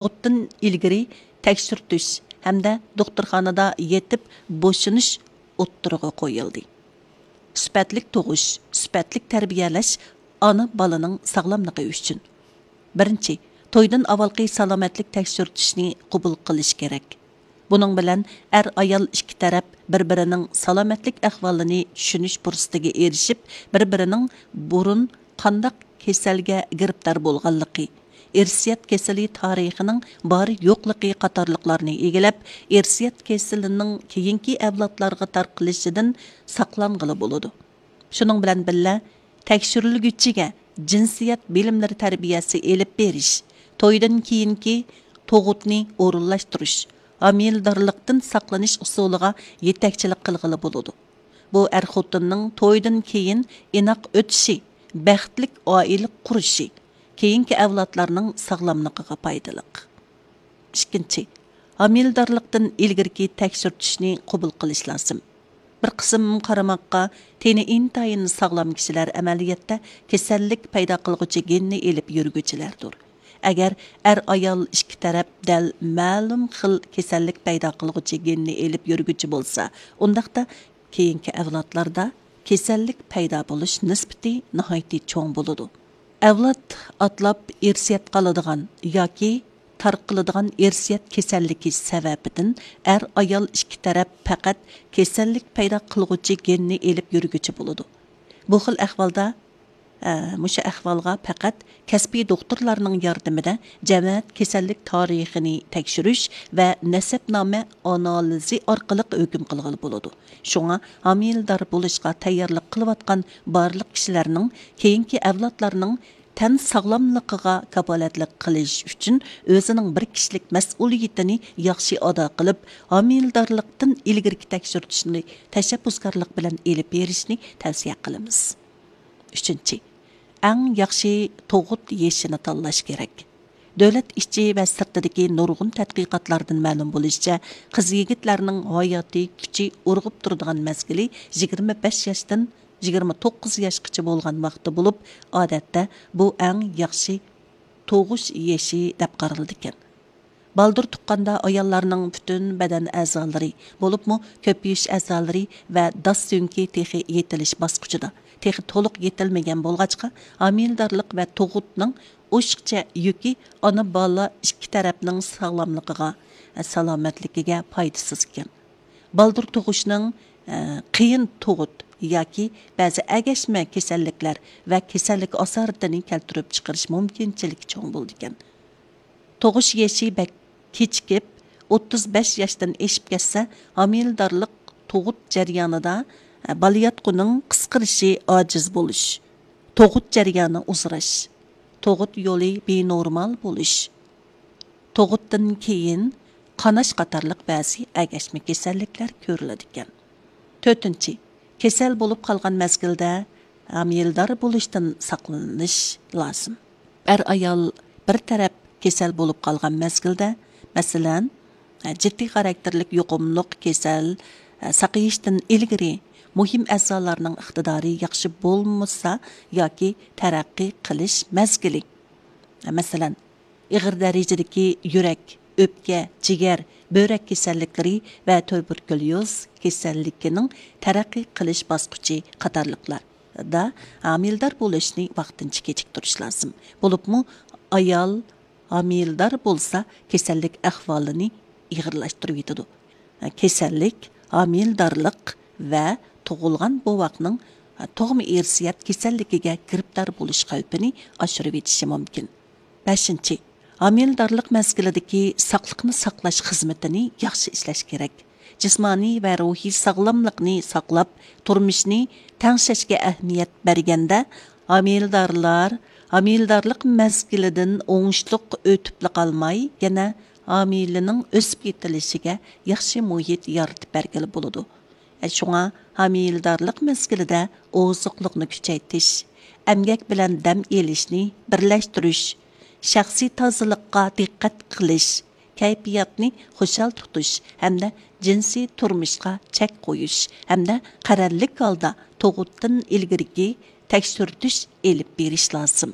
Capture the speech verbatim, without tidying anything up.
تۇغۇتتىن ئىلگىرى تەكشۈرتۈش ھەمدە دوختۇرخانىدا يېتىپ بوشىنىش ئوتتۇرىغا قويۇلدى. سۈپەتلىك تۇغۇش، سۈپەتلىك تەربىيەلەش ئانا بالىنىڭ ساغلاملىقى ئۈچۈن. بىرىنچى، تويدىن ئاۋۋالقى سالامەتلىك تەكشۈرتۈشنى قوبۇل قىلىش كېرەك. بۇنىڭ بىلەن ئەر-ئايال ئىككى تەرەپ بىر-بىرىنىڭ سالامەتلىك ئەھۋالىنى چۈشىنىش پۇرسىتىگە ئېرىشىپ، بىر-بىرىنىڭ بۇرۇن قانداق كېسەلگە گىرىپتار بولغانلىقى، ئىرسىيەت كېسىلى تارىخىنىڭ بار-يوقلۇقى قاتارلىقلارنى ئىگىلەپ، ئىرسىيەت كېسىلىنىڭ كېيىنكى ئەۋلادلارغا تارقىلىشىدىن ساقلانغىلى بولىدۇ. شۇنىڭ بىلەن بىللە، تەكشۈرۈلگۈچىگە جىنسىيەت بىلىملىرى تەربىيەسى ئېلىپ بېرىش، تويدىن كېيىنكى تۇغۇتنى ئورۇنلاشتۇرۇش، ھامىلىدارلىقتىن ساقلىنىش ئۇسۇلىغا يېتەكچىلىك قىلغىلى بولىدۇ. بۇ ئەر-خوتۇننىڭ تويدىن كېيىن ئىناق ئۆتۈشى، بەختلىك ئائىلە قۇرۇشى، كېيىنكى ئەۋلادلارنىڭ ساغلاملىقىغا پايدىلىق. ئىككىنچى، ھامىلىدارلىقتىن ئىلگىرىكى تەكشۈرتۈشنى قوبۇل قىلىش لازىم. بىر قىسىم قارىماققا تېنى ئىنتايىن ساغلام كىشىلەر ئەمەلىيەتتە كېسەللىك پەيدا قىلغۇچى گېننى ئېلىپ يۈرگۈچىلەردۇر. ئەگەر ئەر-ئايال ئىككى تەرەپ دەل مەلۇم خىل كېسەللىك پەيدا قىلغۇچى گېننى ئېلىپ يۈرگۈچى بولسا، ئۇنداقتا كېيىنكى ئەۋلادلاردا كېسەللىك پەيدا بولۇش نىسبىتى ناھايىتى چوڭ بولىدۇ. ئەۋلاد ئاتلاپ ئىرسىيەت قالىدىغان ياكى تارقىلىدىغان ئىرسىيەت كېسەللىكى سەۋەبىدىن ئەر-ئايال ئىككى تەرەپ پەقەت كېسەللىك پەيدا قىلغۇچى گېننى ئېلىپ يۈرگۈچى بولىدۇ. بۇ خىل ئەھۋالدا، ئە، مۇشۇ ئەھۋالغا پەقەت كەسپىي دوختۇرلارنىڭ ياردىمىدە جەمەت كېسەللىك تارىخىنى تەكشۈرۈش ۋە نەسەبنامە ئانالىزى ئارقىلىق ھۆكۈم قىلغىلى بولىدۇ. شۇڭا ھامىلىدار بولۇشقا تەييارلىق قىلىۋاتقان بارلىق كىشىلەرنىڭ كېيىنكى ئەۋلادلارنىڭ تەن ساغلاملىقىغا كاپالەتلىك قىلىش ئۈچۈن ئۆزىنىڭ بىر كىشىلىك مەسئۇلىيىتىنى ياخشى ئادا قىلىپ، ھامىلىدارلىقتىن ئىلگىرىكى تەكشۈرتۈشنى تەشەببۇسكارلىق بىلەن ئېلىپ بېرىشنى تەۋسىيە قىلىمىز. ئۈچىنچى، ئەڭ ياخشى تۇغۇت يېشىنى تاللاش كېرەك. دۆلەت ئىچى ۋە سىرتىدىكى نۇرغۇن تەتقىقاتلاردىن مەلۇم بولۇشىچە، قىز-يىگىتلەرنىڭ ھاياتىي كۈچى ئۇرغۇپ تۇرىدىغان مەزگىلى يىگىرمە بەش ياشتىن يىگىرمە توققۇز ياشقىچە بولغان ۋاقتى بولۇپ، ئادەتتە بۇ ئەڭ ياخشى تۇغۇش يېشى دەپ قارىلىدىكەن. بالدۇر تۇغقاندا ئاياللارنىڭ پۈتۈن بەدەن ئەزالىرى، بولۇپمۇ كۆپىيىش ئەزالىرى ۋە داس سۆڭىكى تېخى يېتىلىش باسقۇچىدا، تېخى تولۇق يېتىلمىگەن بولغاچقا، ھامىلىدارلىق ۋە تۇغۇتنىڭ ئوشۇقچە يۈكى ئانا-بالا ئىككى تەرەپنىڭ ساغلاملىقىغا، سالامەتلىكىگە پايدىسىز ئىكەن. بالدۇر تۇغۇشنىڭ، ئە، قىيىن تۇغۇت ياكى بەزى ئەگەشمە كېسەللىكلەر ۋە كېسەللىك ئاسارىتىنى كەلتۈرۈپ چىقىرىش مۇمكىنچىلىكى چوڭ بولىدىكەن. تۇغۇش يېشى بەك كېچىكىپ، ئوتتۇز بەش ياشتىن ئېشىپ كەتسە، ھامىلىدارلىق، تۇغۇت جەريانىدا، ئە، بالىياتقۇنىڭ قىسقىرىشى، ئاجىز بولۇش، تۇغۇت جەريانى ئۇزىراش، تۇغۇت يولى بىنورمال بولۇش، تۇغۇتتىن كېيىن قاناش قاتارلىق بەزى ئەگەشمە كېسەللىكلەر كۆرۈلىدىكەن. تۆتىنچى، كېسەل بولۇپ قالغان مەزگىلدە ھامىلىدار بولۇشتىن ساقلىنىش لازىم. ئەر-ئايال بىر تەرەپ كېسەل بولۇپ قالغان مەزگىلدە، مەسىلەن، جىددىي خاراكتېرلىك يۇقۇملۇق كېسەل ساقىيىشتىن ئىلگىرى مۇھىم ئەزالارنىڭ ئىقتىدارى ياخشى بولمىسا ياكى تەرەققىي قىلىش مەزگىلى، مەسىلەن، ئېغىر دەرىجىدىكى يۈرەك، ئۆپكە، جىگەر، بۆرەك كېسەللىكلىرى ۋە تۇبېركۇليوز كېسەللىكىنىڭ تەرەققىي قىلىش باسقۇچى قاتارلىقلاردا ھامىلىدار بولۇشنى ۋاقتىنچە كېچىكتۈرۈش لازىم. بولۇپمۇ ئايال ھامىلىدار بولسا، كېسەللىك ئەھۋالىنى ئېغىرلاشتۇرۇۋېتىدۇ. كېسەللىك ھامىلىدارلىق ۋە تۇغۇلغان بوۋاقنىڭ تۇغما ئىرسىيەت كېسەللىكىگە گىرىپتار بولۇش خەۋپىنى ئاشۇرۇۋېتىشى مۇمكىن. بەشىنچى، ھامىلىدارلىق مەزگىلىدىكى ساقلىقنى ساقلاش خىزمىتىنى ياخشى ئىشلەش كېرەك. جىسمانىي ۋە روھىي ساغلاملىقنى ساقلاپ، تۇرمۇشنى تەڭشەشكە ئەھمىيەت بەرگەندە، ھامىلىدارلار ھامىلىدارلىق مەزگىلىدىن ئوڭۇشلۇق ئۆتۈپلا قالماي، يەنە ھامىلىنىڭ ئۆسۈپ يېتىلىشىگە ياخشى مۇھىت يارىتىپ بەرگىلى بولىدۇ. شۇڭا ھامىلىدارلىق مەزگىلىدە ئوزۇقلۇقنى كۈچەيتىش، ئەمگەك بىلەن دەم ئېلىشنى بىرلەشتۈرۈش، شەخسىي تازىلىققا دىققەت قىلىش، كەيپىياتنى خۇشال تۇتۇش ھەمدە جىنسىي تۇرمۇشقا چەك قويۇش ھەمدە قەرەللىك ھالدا تۇغۇتتىن ئىلگىرىكى تەكشۈرتۈش ئېلىپ بېرىش لازىم.